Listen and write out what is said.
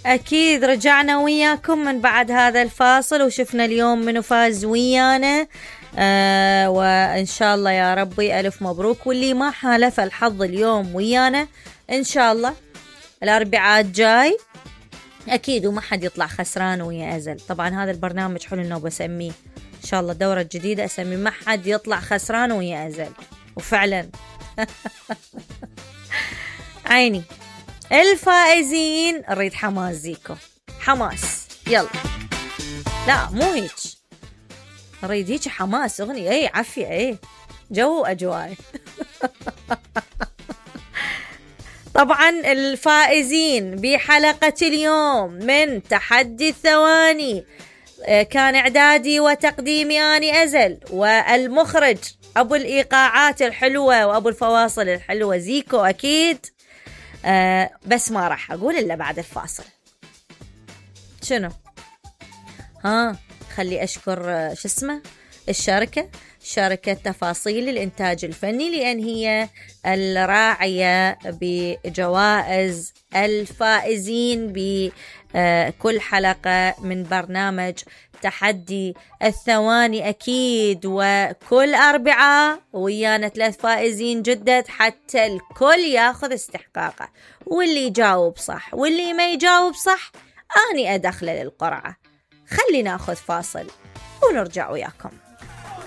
أكيد رجعنا وياكم من بعد هذا الفاصل، وشفنا اليوم منو فاز ويانا. وإن شاء الله يا ربي ألف مبروك، واللي ما حالف الحظ اليوم ويانا إن شاء الله الأربعاء الجاي أكيد وما حد يطلع خسران ويا أزل. طبعا هذا البرنامج حلو إنه بسميه إن شاء الله الدورة الجديدة أسميه ما حد يطلع خسران ويا أزل، وفعلا عيني الفائزين نريد حماس زيكو، حماس يلا، لا مو هيك، نريد هيك حماس، أغنية اي عافية اي جو أجواء. طبعا الفائزين بحلقة اليوم من تحدي الثواني كان إعدادي وتقديمي أني أزل، والمخرج أبو الإيقاعات الحلوة وأبو الفواصل الحلوة زيكو أكيد. بس ما راح أقول إلا بعد الفاصل. شنو؟ خلي أشكر شو اسمه شركة تفاصيل الإنتاج الفني، لأن هي الراعية بجوائز الفائزين بكل حلقة من برنامج تحدي الثواني أكيد. وكل أربعاء ويانا 3 فائزين جدد حتى الكل ياخذ استحقاقه، واللي يجاوب صح واللي ما يجاوب صح أني أدخله للقرعة. خلينا ناخذ فاصل ونرجع وياكم.